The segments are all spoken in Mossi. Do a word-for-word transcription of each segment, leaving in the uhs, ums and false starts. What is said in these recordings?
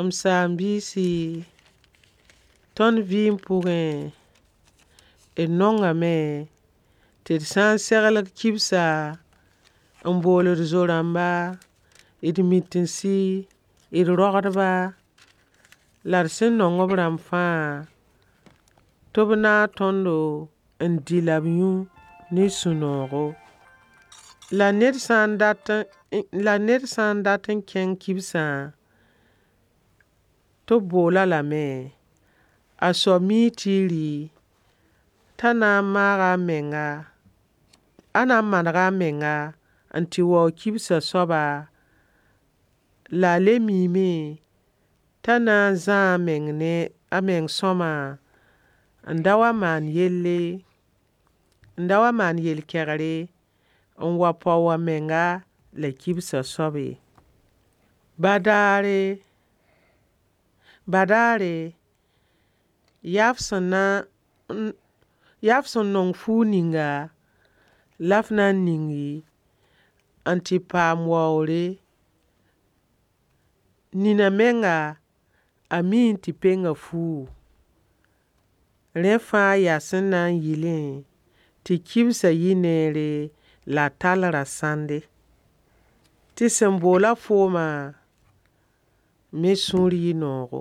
M saam-biisi, tõnd vɩɩm pʋgẽ, d nongame tɩ d sã n seglg kibsa, n bool d zo-rãmba, d mitinsi, d rogdba, la d sẽn nong b rãmb fãa, tɩ b naag tõndo n dɩ la b yũ ne sũ-noogo. La ned sã n dat la ned sã n dat n kẽng kibsã, tɩ b bool-a lame, a soab mii tɩ y rɩ, t'a na n maaga a menga, a na n manega a menga n tɩ waoog kibsã soaba, la a le miime t'a na n zãa a meng ne a meng sõama n da wa maan yelle, n da wa maan yel-kɛgre, n wa pao a menga la kibsã soab ye. Badaare, badaare, yaa f sẽn na n yaa f sẽn nong fuug ninga la f na n ningi n tɩ paam waoogre. Nina menga, a miime tɩ penga fuugu. Rẽ fãa yaa sẽn na n yɩlẽ tɩ kibsã yɩ neere la a tall rasãnde. Tɩ sẽn boola foomã me sũur yɩ noogo.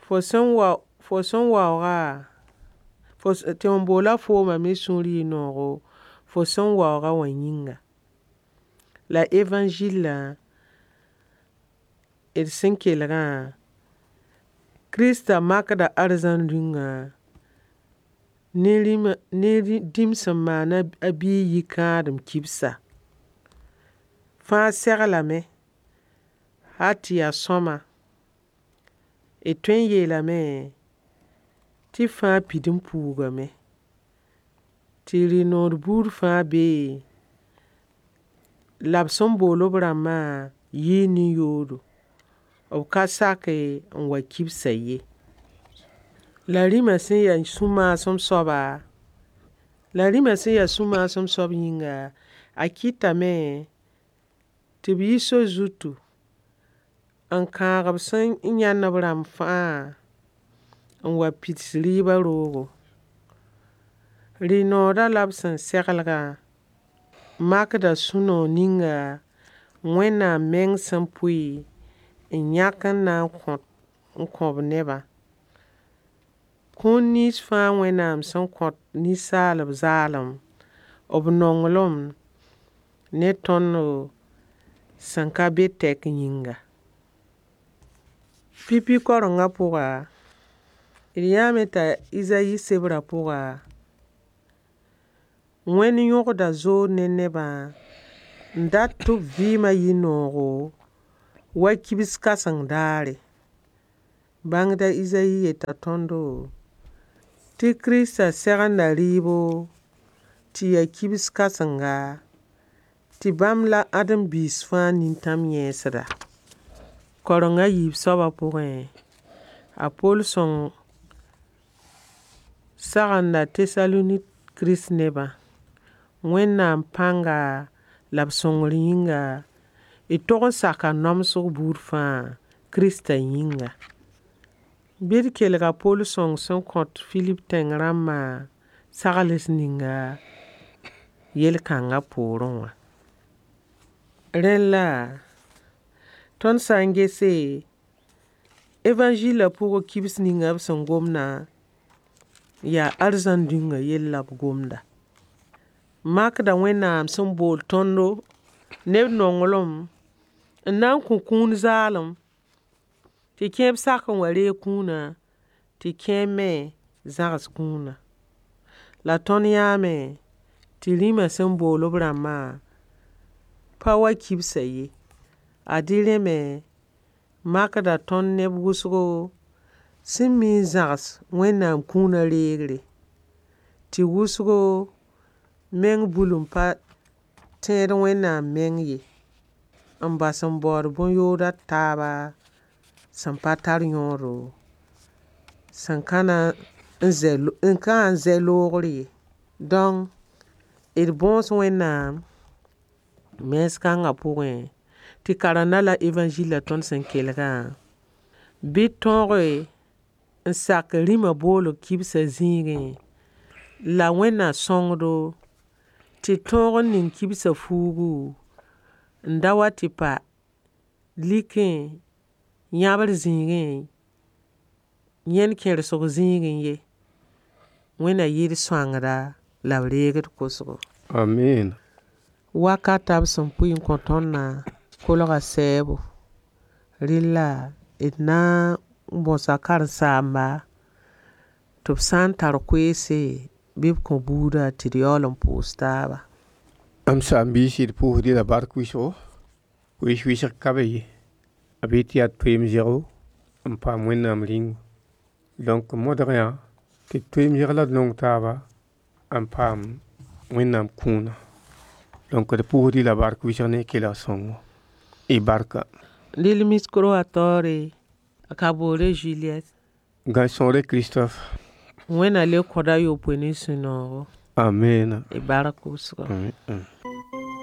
Fo sẽn wa fo sẽn waooga, tɩ wẽn boola foomã me sũur yɩ noogo, fo sẽn waoogã wã yĩnga. La evãnzɩllã, d sẽn kelgã, Kirista makda arzãn Rĩungã ne rĩmã ne dĩm sẽn maan a biig yikãadem kibsa. Fãa seglame hal tɩ yaa sõama. D tõe n yeelame tɩ fãa pid n puugame. Tɩ rɩ-noor buud fãa bee, la b sẽn bool b rãmbã yɩɩ nin-yoodo. B ka sake n wa kibsã ye. La rĩmã sẽn ya sũ-maasem soaba, la rĩmã sẽn ya sũ-maasem soab yĩnga, a kɩtame tɩ b yi sor zutu n kãag b sẽn yãnd b rãmb fãa n wa pids rɩɩbã roogo. Rɩ-noodã la b sẽn seglgã makda sũ-noog ninga Wẽnnaam meng sẽn pʋɩ n yãk n na n kõ n kõ b nebã. Kũun nins fãa Wẽnnaam sẽn kõt ninsaalb zaalem, b nonglem ne tõndo sẽn ka be tɛk yĩnga. Pipi kaorengã pʋga, d yãame t'a Izayi sebrã pʋga, Wẽnd yõgda zood ne nebã n dat tɩ b vɩɩmã yɩ noogo wa kibs kãseng daare. Bãngd a Izayi yeta tõndo tɩ Kiristã segenda rɩɩbo tɩ yaa kibs kãsenga, tɩ bãmb la ãdem-biis fãa nintãm yẽesda. Kaoreng a yiib soabã pʋgẽ, a Poll sõng sagenda Tesalonik Kirist-nebã. Wẽnnaam pãnga la b sõngr yĩnga, d tog n saka namsg buud fãa Kiristã yĩnga. Bɩ d kelg a Poll sõng sẽn kõt Filip tẽng rãmbã sagls ninga yel-kãngã poorẽ wã. Rẽlla, tõnd sã n gese, evãnzɩlã pʋgẽ kibs ninga b sẽn gomdã, yaa arzãn Rĩungã yell la b gomda. Makda Wẽnnaam sẽn bool tõndo ne b nonglem n na n kõ kũun zaalem, tɩ kẽeb sak n wa reeg kũunã, tɩ kẽeb me zãgs kũunã. La tõnd yãame tɩ rĩmã sẽn bool b rãmbã pa wa kibsã ye. Ad-y rẽ me makda tõnd neb wʋsgo sẽn mi n zãgs Wẽnnaam kũunã reegre. Tɩ wʋsgo meng bulum pa tẽed Wẽnnaam meng ye, n bas n baood bõn-yood a taaba sẽn pa tar yõodo, sẽn ka na n zɛ n ka na n zɛ loogr ye. Dõnk, d bõos Wẽnnaam mens kãngã pʋgẽ, tɩ karenda la evãnzɩlã tõnd sẽn kelgã. Bɩ tõoge n sak rĩmã boolg kibsã zĩigẽ la Wẽnna sõngdo tɩ tõog n ning kibsã fuugu n da wa tɩ pa likẽ yãbr zĩigẽ yẽnd kẽrsg zĩigẽ ye. Wẽnna yɩ d sõangda la b reeg d kosgo. Amiin. Wakata b sẽn pʋɩ n kõ tõndã kolga sɛɛbo. Rella d na n bõsa karen-saamba tɩ b sã n tar koeese bɩ b kõ buudã tɩ d yaool n pʋʋs taaba. M saam-biisi, d pʋʋsd-y la bark wɩsgo. Koees wɩsg ka be ye. B yet tɩ yaa toeem zego n paam Wẽnnaam Rĩunga. Donc modgã tɩ d toeem zeg la d nong taaba n paam Wẽnnaam kũuna. Donc d pʋʋsd-y la bark wɩsg ne y kelg sõngo. Y barka. Rel micro wã taoore a Kaboré Juliette. Gãe-sõore Christophe. Wẽnna le kõda yopoe ne sũ-noogo. Amiina. Y bark wʋsgo. Amiin.